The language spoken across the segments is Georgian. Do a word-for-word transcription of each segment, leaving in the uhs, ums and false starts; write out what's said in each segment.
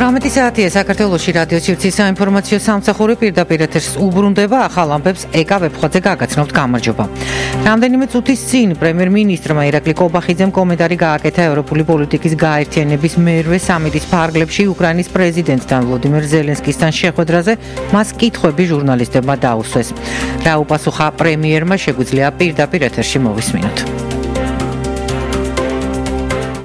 ογδόντα საათია საქართველოში რადიო სივრცის საინფორმაციო სამსახური პირდაპირ ეთერს უბრუნდება ახალ ამბებს ეკა ვებხვაძე გაგაცნობთ გამარჯობა. რამდენიმე წუთის წინ პრემიერ-მინისტრმა ირაკლი კობახიძემ კომენტარი გააკეთა ევროპული პოლიტიკის გაერთიანების მერვე სამიტის ფარგლებში უკრაინის პრეზიდენტთან ვლოდიმერ ზელენსკისთან შეხვედრაზე მას კითხვები ჟურნალისტებმა დაუსვეს. რა უპასუხა პრემიერმა შეგვიძლია პირდაპირ ეთერში მოვისმინოთ.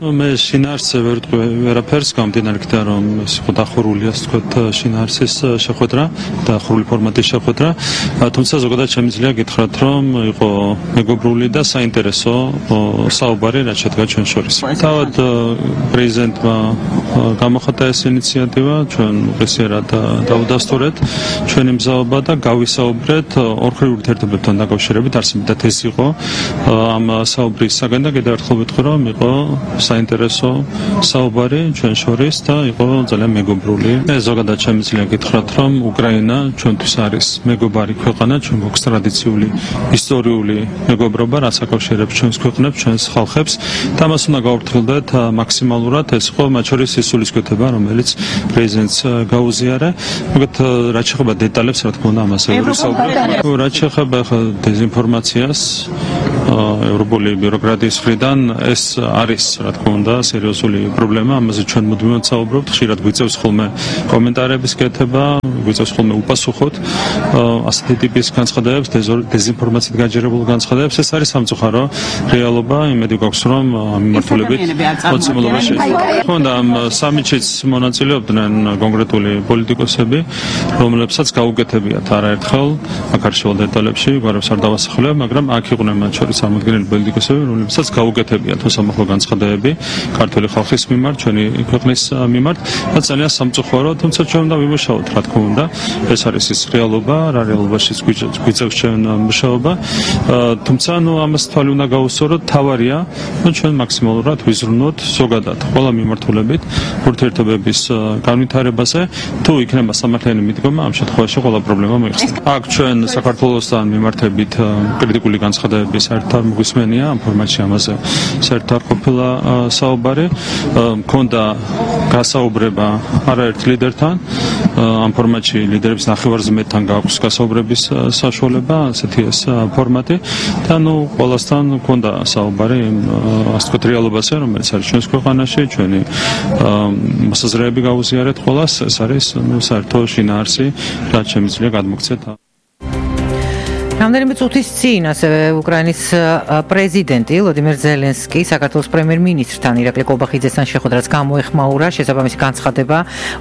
მე შინაარსზე ვერ ვერაფერს გამდინარე იქიდან რომ ეს იყო დახურული ასე ვთქვათ შინაარსის შეხვედრა დახურული ფორმატის შეხვედრა თუმცა ზოგადად შემიძლია გითხრათ რომ იყო მეგობრული და საინტერესო საუბარი რაც შედგა ჩვენ შორის. თავად პრეზიდენტმა გამოხატა ეს ინიციატივა ჩვენ უპრესიერად დავუდასტურეთ ჩვენი მზაობა და გავისაუბრეთ ორხრივ ურთიერთობებთან დაკავშირებით არსებითად ეს იყო ამ საუბრის საგანი და კიდევ ერთხელ ვიტყვი რომ იყო საინტერესო საუბარი ჩვენ შორის და იყო ძალიან მეგობრული. მე ზოგადად შემიძლია გითხრათ რომ უკრაინა ჩვენთვის არის მეგობარი ქვეყანა, ჩვენ გვაქვს ტრადიციული ისტორიული მეგობრობა, რაც აკავშირებს ჩვენს ქვეყნებს, ჩვენს ხალხებს და მას უნდა გავაფრთხილდეთ მაქსიმალურად. ეს იყო მათ შორის ის სულისკვეთება, რომელიც პრეზიდენტს გაუზიარა. მოგეთ რაც შეეხება დეტალებს, რა თქმა უნდა, ამაზე ვისაუბრებთ. რაც შეეხება დეზინფორმაციას ევროპული ბიუროკრატიის მხრიდან ეს არის რა თქმა უნდა სერიოზული პრობლემა, ამაზე ჩვენ მუდმივად საუბრობთ, ხშირად გვიწევს ხოლმე კომენტარების კეთება, გვიწევს ხოლმე უპასუხოთ ასეთი ტიპის განცხადებებს, დეზინფორმაციით გაჯერებულ განცხადებებს, ეს არის სამწუხარო რეალობა, იმედი გვაქვს რომ მიმართულებით მოცემულობაში. თქმა უნდა ამ სამიტშიც მონაწილეობდნენ კონკრეტული პოლიტიკოსები, რომლებსაც გაუკეთებიათ არაერთხელ აქ არ შევალ დეტალებში, გვარებს არ დავასახელებ, მაგრამ აქ იყვნენ მათ შორის წარმოდგენილი პოლიტიკოსები, რომლებსაც გაუკეთებიათ უსამართლო განცხადებები ქართული ხალხის მიმართ, ჩვენი ქვეყნის მიმართ და ძალიან სამწუხარო, თუმცა ჩვენ უნდა ვიმუშაოთ, რა თქმა უნდა, ეს არის ის რეალობა, რა რეალობაშიც გვიწევს ჩვენ მუშაობა, თუმცა ნუ ამას თვალი უნდა გაუსწოროთ, თავარია, ნუ ჩვენ მაქსიმალურად ვიზრუნოთ ზოგადად ყველა მიმართულებით ურთიერთობების განვითარებაზე, თუ იქნება სამართლიანი მიდგომა, ამ შემთხვევაში ყველა პრობლემა მოიხსნება. აქ ჩვენ საქართველოსთან მიმართებით კრიტიკული განცხადებები საერთოდ არ მოგვისმენია, ამ ფორმატში ამაზე საერთოდ არ ყოფილა საუბარი, მქონდა გასაუბრება არაერთ ლიდერთან, ამ ფორმატში ლიდერების ნახევარზმეთთან გააქვს გასაუბრების საშუალება, ასეთი ეს ფორმატი და ნუ ყველასთან მქონდა საუბარი ასე ვთქვათ რეალობაზე, რომელიც არის ჩვენს ქვეყანაში, ჩვენი მოსაზრეები გაუზიარეთ ყველას, ეს არის ნუ საერთო შინაარსი, რაც შემიძლია გადმოგცეთ. რამდენიმე წუთის წინ ასევე უკრაინის პრეზიდენტი ვლოდიმერ ზელენსკი საქართველოს პრემიერ-მინისტრთან ირაკლი კობახიძესთან შეხვედრას გამოეხმაურა. შესაბამისი განცხადება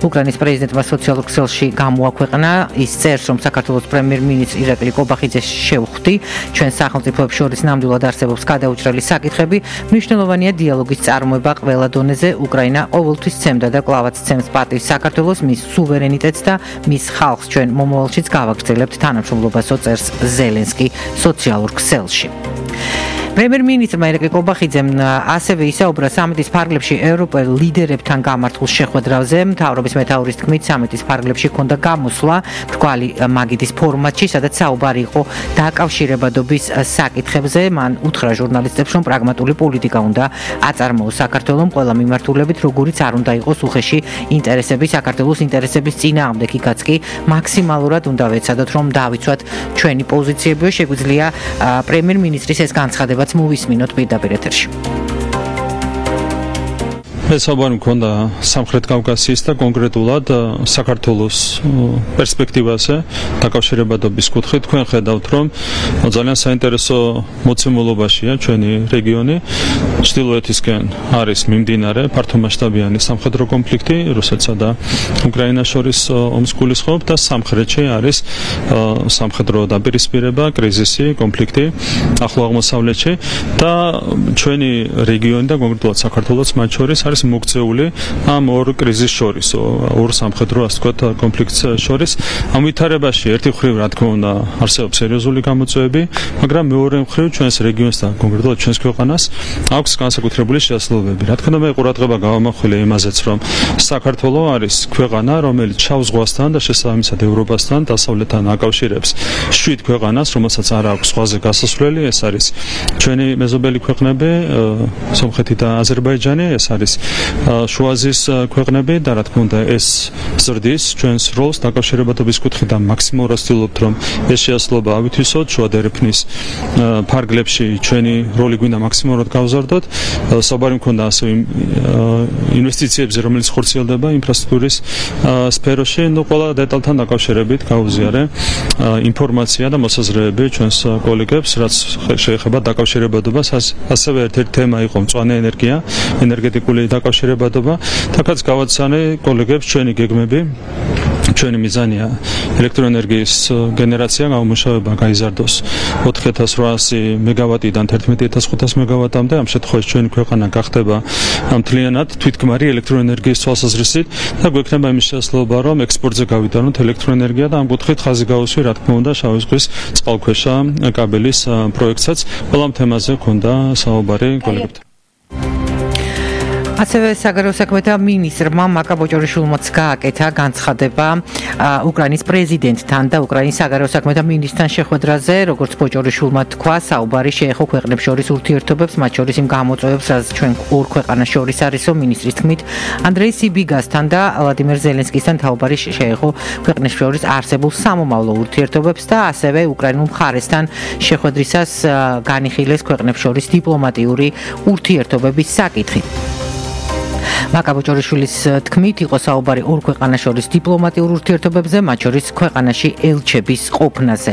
უკრაინის პრეზიდენტმა სოციალურ ქსელში გამოაქვეყნა. ის წერს, რომ საქართველოს პრემიერ-მინისტრ ირაკლი კობახიძეს შევხვდი. ჩვენ სახელმწიფოებს შორის ნამდვილად არსებობს გადაუჭრელი საკითხები. მნიშვნელოვანია დიალოგის წარმოება ყველა დონეზე. უკრაინა ყოველთვის ცემდა და კლავაც ცემს პატივს საქართველოს, მის სუვერენიტეტს და მის ხალხს. ჩვენ მომავალშიც გავაგრძელებთ თანამშრომლობასო წერს ზელენსკი სოციალურ ქსელში. პრემიერ-მინისტრმა ირაკლი კობახიძემ ასევე ისაუბრა სამიტის ფარგლებში ევროპელ ლიდერებთან გამართულ შეხვედრაზე. მთავრობის მეთაურის თქმით, სამიტის ფარგლებში ჰქონდა გამოსვლა მრგვალი მაგიდის ფორმატში, სადაც საუბარი იყო დაკავშირებადობის საკითხებზე. მან უთხრა ჟურნალისტებს, რომ პრაგმატული პოლიტიკა უნდა აწარმოოს საქართველოს ყველა მიმართულებით, როგორიც არ უნდა იყოს უხეში ინტერესები საქართველოს ინტერესების წინააღმდეგ, იქაც კი მაქსიმალურად უნდა ვეცადოთ, რომ დავიცვათ ჩვენი პოზიციები. შეგვიძლია პრემიერ-მინისტრის ეს განცხადება მოვისმინოთ პირდაპირ ეთერში. ეს საუბარი მქონდა სამხრეთ კავკასიის და კონკრეტულად საქართველოს პერსპექტივაზე დაკავშირებადობის კუთხით. თქვენ ხედავთ, რომ ძალიან საინტერესო მოცემულობაშია ჩვენი რეგიონი. ჩრდილოეთისკენ არის მიმდინარე ფართომასშტაბიანი სამხედრო კონფლიქტი რუსეთსა და უკრაინას შორის ომს გულისხმობ და სამხრეთში არის სამხედრო დაპირისპირება, კრიზისი, კონფლიქტი ახლო აღმოსავლეთში და ჩვენი რეგიონი და კონკრეტულად საქართველოს მათ შორის არის მოგწეული ამ ორ კრიზისს შორის, ორ სამხედრო ასე ვთქვათ კონფლიქტს შორის. ამ ვითარებაში ერთი მხრივ რა თქმა უნდა არსებობს სერიოზული გამოწვევები, მაგრამ მეორე მხრივ ჩვენს რეგიონს და კონკრეტულად ჩვენს ქვეყანას აქვს განსაკუთრებული შესაძლებლობები. რა თქმა უნდა მე ყურადღება გავამახვილე იმაზეც, რომ საქართველო არის ქვეყანა, რომელიც შავ ზღვასთან და შესაბამისად ევროპასთან დასავლეთთან აკავშირებს შვიდ ქვეყანას, რომელსაც არ აქვს ზღვაზე გასასვლელი. ეს არის ჩვენი მეზობელი ქვეყნები, სომხეთი და აზერბაიჯანი, ეს არის შუა აზიის ქვეყნები და რა თქმა უნდა ეს ზრდის ჩვენს როლს დაკავშირებადობის კუთხიდან მაქსიმალურად ვცდილობთ რომ ეს შეასრულება ავითვისოთ შუა დერეფნის ფარგლებში ჩვენი როლი გვინდა მაქსიმალურად გავზარდოთ საბარი მქონდა ასევე ინვესტიციებზე რომელიც ხორციელდება ინფრასტრუქტურის სფეროში ნუ ყველა დეტალთან დაკავშირებით გავუზიარე ინფორმაცია და მოსაზრებები ჩვენს კოლეგებს რაც შეეხება დაკავშირებადობას ასევე ერთ-ერთი თემა იყო მწვანე ენერგია ენერგეტიკული დაკავშირებადობა თაკაც გავაცანე კოლეგებს ჩვენი გეგმები ჩვენი მიზანია ელექტროენერგიის გენერაცია გამომუშავება გაიზარდოს ოთხი ათას რვაასი მეგავატიდან თერთმეტი ათას ხუთასი მეგავატამდე ამ შემთხვევაში ჩვენი ქვეყანა გახდება მთლიანად თვითქმარი ელექტროენერგიის თვალსაზრისით და გვექნება იმის შესაძლებლობა რომ ექსპორტზე გავიტანოთ ელექტროენერგია და ამ კუთხით ხაზი გავუსვი რა თქმა უნდა შავი ზღვის წყალქვეშა კაბელის პროექტსაც ყველა ამ თემაზე ქონდა საუბარი კოლეგებთან ასევე საგარეო საქმეთა მინისტრმა მაკა ბოჭორიშვილმაც გააკეთა განცხადება უკრაინის პრეზიდენტთან და უკრაინის საგარეო საქმეთა მინისტრთან შეხვედრაზე, როგორც ბოჭორიშვილმა თქვა, საუბარი შეეხო ქვეყნებს შორის ურთიერთობებს, მათ შორის იმ გამოწვევებს, რაც ჩვენ ორ ქვეყანას შორის არისო, მინისტრის თქმით, ანდრეი სიბიგასთან და ვლადიმერ ზელენსკისთან საუბარი შეეხო ქვეყნებს შორის არსებულ სამომავლო ურთიერთობებს და ასევე უკრაინულ მხარესთან შეხვედრისას განიხილეს ქვეყნებს შორის დიპლომატიური ურთიერთობების საკითხი. მაკა ბოჭორიშვილის თქმით იყო საუბარი ორ ქვეყანას შორის დიპლომატიურ ურთიერთობებზე, მათ შორის ქვეყანაში ელჩების ყოფნაზე.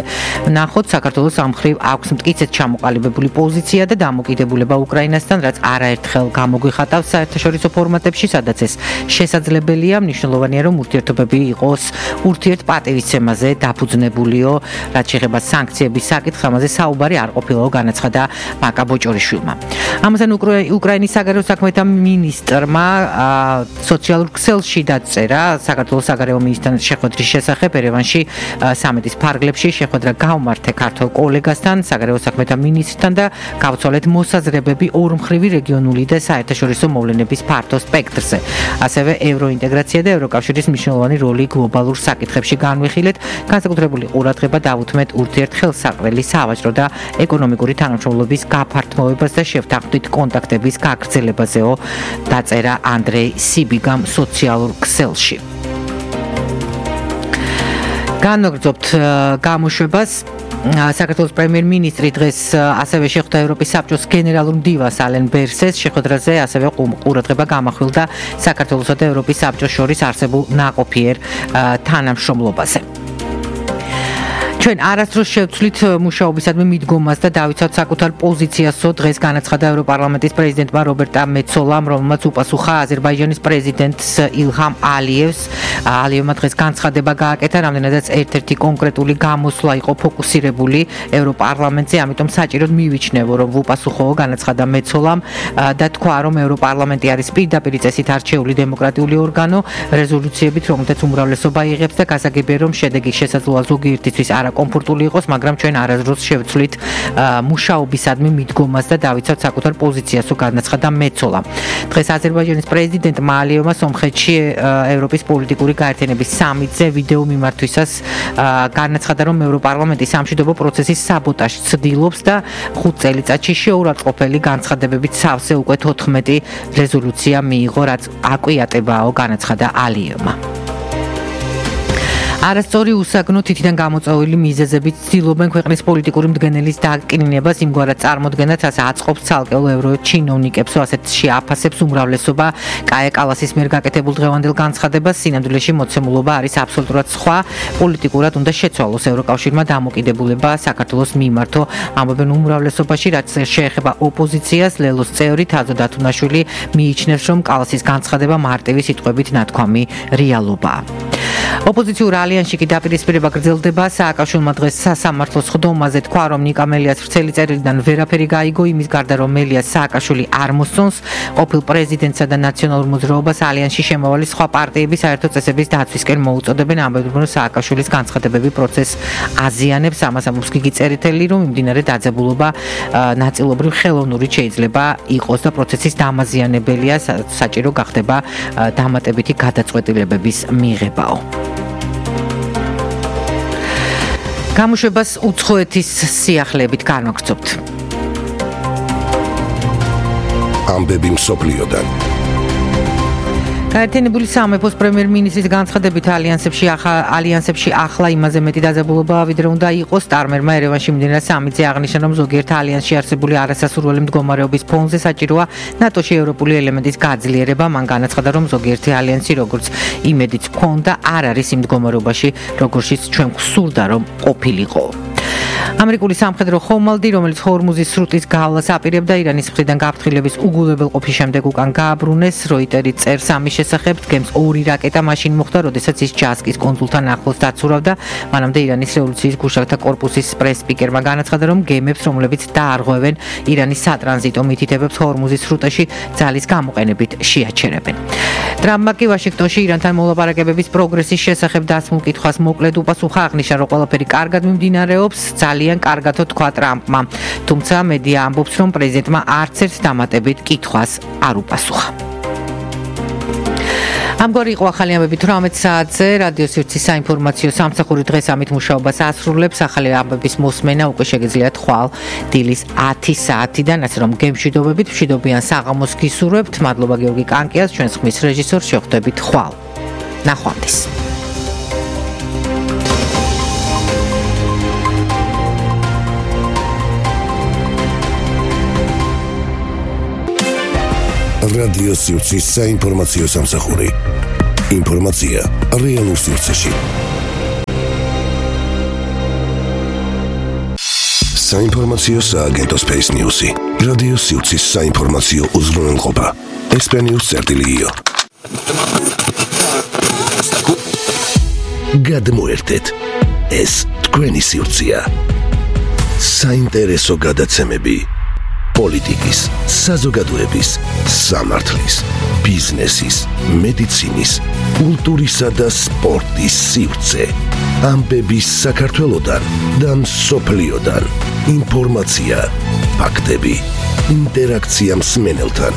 ნახოთ, საქართველოს ამ მხრივ აქვს მტკიცედ ჩამოყალიბებული პოზიცია და დამოკიდებულება უკრაინასთან, რაც არაერთხელ გამოგვიხატავს საერთაშორისო ფორმატებში, სადაც ეს შესაძლებელია, მნიშვნელოვანია, რომ ურთიერთობები იყოს ურთიერთპატივისცემაზე დაფუძნებულიო, რაც შეეხება სანქციების საკითხს, ამაზე საუბარი არ ყოფილაო, განაცხადა მაკა ბოჭორიშვილმა. ამასთან უკრაინის საგარეო საქმეთა მინისტრმა სოციალურ ქსელში დაწერა საქართველოს საგარეო მინისტრთან შეხვედრის შესახებ ერევანში სამეტის ფარგლებში შეხვედრა გავმართე ქართველ კოლეგასთან საგარეო საქმეთა მინისტრთან და გავცვალეთ მოსაზრებები ორმხრივი რეგიონული და საერთაშორისო მოვლენების ფართო სპექტრზე. ასევე ევროინტეგრაცია და ევროკავშირის მნიშვნელოვანი როლი გლობალურ საკითხებში განვიხილეთ, განსაკუთრებული ყურადღება დავუთმეთ ურთიერთხელსაყრელი სავაჭრო და ეკონომიკური თანამშრომლობის გაფართოებას და შევთანხმდით კონტაქტების გაგრძელებაზეო დაწერა ანდრეი სიბიგამ სოციალურ ქსელში. განვაგრძობთ გამოშვებას საქართველოს პრემიერ-მინისტრი დღეს ასევე შეხვდა ევროპის საბჭოს გენერალურ მდივანს ალენ ბერსეს შეხვედრაზე ასევე ყურადღება გამახვილდა საქართველოსა და ევროპის საბჭოს შორის არსებულ ნაყოფიერ თანამშრომლობაზე. ჩვენ არასდროს შევცვლით მუშაობისადმი მიდგომას და დავიცავთ საკუთარ პოზიციასო დღეს განაცხადა ევროპარლამენტის პრეზიდენტმა რობერტა მეცოლამ, რომელმაც უპასუხა აზერბაიჯანის პრეზიდენტს ილჰამ ალიევს. ალიევმა დღეს განცხადება გააკეთა, რამდენადაც ერთ-ერთი კონკრეტული გამოსვლა იყო ფოკუსირებული ევროპარლამენტზე, ამიტომ საჭიროდ მივიჩნევო, რომ ვუპასუხო, განაცხადა მეცოლამ და თქვა, რომ ევროპარლამენტი არის პირდაპირ წესით არჩეული დემოკრატიული ორგანო, რეზოლუციებით, რომელთაც უმრავლესობა იღებს და გასაგებია, რომ შედეგი შესაძლოა ზოგიერთისთვის არა კომფორტული იყოს, მაგრამ ჩვენ არასდროს შევცვლით მუშაობისადმი მიდგომას და დავიცავთ საკუთარ პოზიციასო, განაცხადა მეცოლა. დღეს აზერბაიჯანის პრეზიდენტმა ალიევმა სომხეთში ევროპის პოლიტიკური გაერთიანების სამიტზე ვიდეო მიმართვისას განაცხადა, რომ ევროპარლამენტი სამშვიდობო პროცესის საბოტაჟს ცდილობს და ხუთ წელიწადში შეურაცხყოფელი განცხადებებით სავსე უკვე თოთხმეტი რეზოლუცია მიიღო, რაც აკვიატებაო, განაცხადა ალიევმა. არასწორი უსაგნო თითიდან გამოწვეული მიზეზებით ცდილობენ ქვეყნის პოლიტიკური მდგენელის დაკნინებას, იმგვარად წარმოდგენაც ასე აწყობს ცალკეულ ევროჩინოვნიკებს, ასეთში აფასებს უმრავლესობა კაია კალასის მიერ გაკეთებულ დღევანდელ განცხადებას, სინამდვილეში მოცემულობა არის აბსოლუტურად სხვა, პოლიტიკურად უნდა შეცვალოს ევროკავშირმა დამოკიდებულება საქართველოს მიმართო, ამბობენ უმრავლესობაში, რაც შეეხება ოპოზიციას, ლელოს წევრი თაზო დათუნაშვილი მიიჩნევს, რომ კალასის განცხადება მარტივი სიტყვებით ნათქვამი რეალობაა. ოპოზიციურ ალიანსში კი დაპირისპირება გრძელდება. სააკაშვილმა დღეს სასამართლოს ხდომაზე თქვა, რომ ნიკა მელიას ვრცელი წერილიდან ვერაფერი გაიგო, იმის გარდა რომ მელიას სააკაშვილი არ მოსწონს ყოფილ პრეზიდენტსა და ნაციონალურ მოძრაობას ალიანსში შემავალი სხვა პარტიების საერთო წესების დაცვისკენ მოუწოდებენ, ამბობენ, რომ სააკაშვილის განცხადებები პროცესს აზიანებს. ამას ამბობს გიგი წერეთელი, რომ მიმდინარე დაძაბულობა ნაწილობრივ ხელოვნური შეიძლება იყოს და პროცესის დამაზიანებელია, საჭირო გახდება დამატებითი გადაწყვეტილებების მიღებაო. გამოშვებას უცხოეთის სიახლეებით განვაგრძობთ. ამბები მსოფლიოდან. გაერთიანებული სამეფოს პრემიერ-მინისტრის განცხადებით ალიანსებში ალიანსებში ახლა იმაზე მეტი დაძაბულობაა, ვიდრე უნდა იყოს. სტარმერმა ერევანში მიმდინარე სამიტზე აღნიშნა, რომ ზოგიერთ ალიანსში არსებული არასასურველი მდგომარეობის ფონზე საჭიროა ნატოში ევროპული ელემენტის გაძლიერება. მან განაცხადა, რომ ზოგიერთი ალიანსი, როგორც იმედიც ჰქონდა, არ არის იმ მდგომარეობაში, როგორშიც ჩვენ გვსურდა, რომ ყოფილიყო. ამერიკული სამხედრო ხომალდი, რომელიც ჰორმუზის სრუტის გავლას აპირებდა, ირანის მხრიდან გაფრთხილების უგულებელყოფის შემდეგ უკან გააბრუნეს. როიტერი წერს ამის შესახებ, დგემს ორი რაკეტა მაშინ მოხდა, როდესაც ის ჯასკის კონსულთან ახლოს დაცურავდა. მანამდე ირანის რევოლუციის გუშაგთა კორპუსის პრეს-სპიკერმა განაცხადა, რომ გემებს, რომლებიც დაარღვევენ ირანის სატრანზიტო მითითებებს ჰორმუზის სრუტაში, ძალის გამოყენებით შეაჩერებენ. ტრამპმა კი ვაშინგტონში ირანთან მოლაპარაკებების პროგრესის შესახებ დასმულ კითხვას მოკლედ უპასუხა, აღნიშნა, რომ ყველაფერი კარგად მიმდინარეობს. ძალიან კარგათო თქვა ტრამპმა, თუმცა მედია ამბობს, რომ პრეზიდენტმა არც ერთ დამატებით კითხვას არ უპასუხა. ამგვარი იყო ახალი ამბები თვრამეტ საათზე. რადიო სივრცის საინფორმაციო სამსახური დღეს ამით მუშაობას ასრულებს. ახალი ამბების მოსმენა უკვე შეგიძლიათ ხვალ დილის ათი საათიდან, ასე რომ გემშვიდობებით, მშვიდობიან საღამოს გისურვებთ. მადლობა გიორგი კანკიას, ჩვენს ხმის რეჟისორს. შევხვდებით ხვალ. ნახვამდის. რადიო სივრცის საინფორმაციო სამსახური. ინფორმაცია რეალურ სივრცეში. საინფორმაციო სააგენტო Space News-ი. რადიო სივრცის საინფორმაციო უზრუნველყოფა. ესპანიურ წერტილიო. გადმოერთეთ. ეს თქვენი სივრცეა. საინტერესო გადაცემები. პოლიტიკის, საზოგადოების, სამართლის, ბიზნესის, მედიცინის, კულტურისა და სპორტის სივრცე. ამბების საქართველოდან და მსოფლიოდან. ინფორმაცია, ფაქტები, ინტერაქცია მსმენელთან.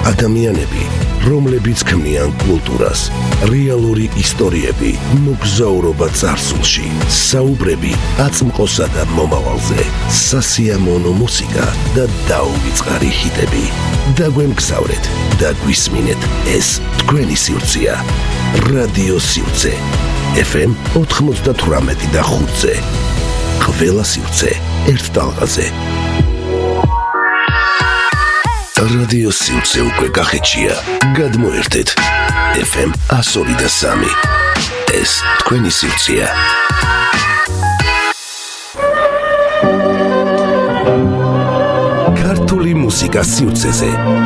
ადამიანები, რომლებიც ქმნიან კულტურას, რეალური ისტორიები, მოგზაურობა წარსულში, საუბრები აწმყოსა და მომავალზე, სასიამოვნო მუსიკა და დაუვიწყარი ჰიტები. დაგვემგზავრეთ და გვისმინეთ, ეს თქვენი სივრცეა. რადიო სივრცე. ეფ ემ ოთხმოცდათვრამეტი და ხუთზე. ყველა სივრცე ერთ ტალღაზე. რადიო სივრცე უკვე კახეთშია. გადმოერთეთ. ეფ ემ ათას ორი და სამი. ეს თქვენი სივრცეა. ქართული მუსიკას სივრცეზე.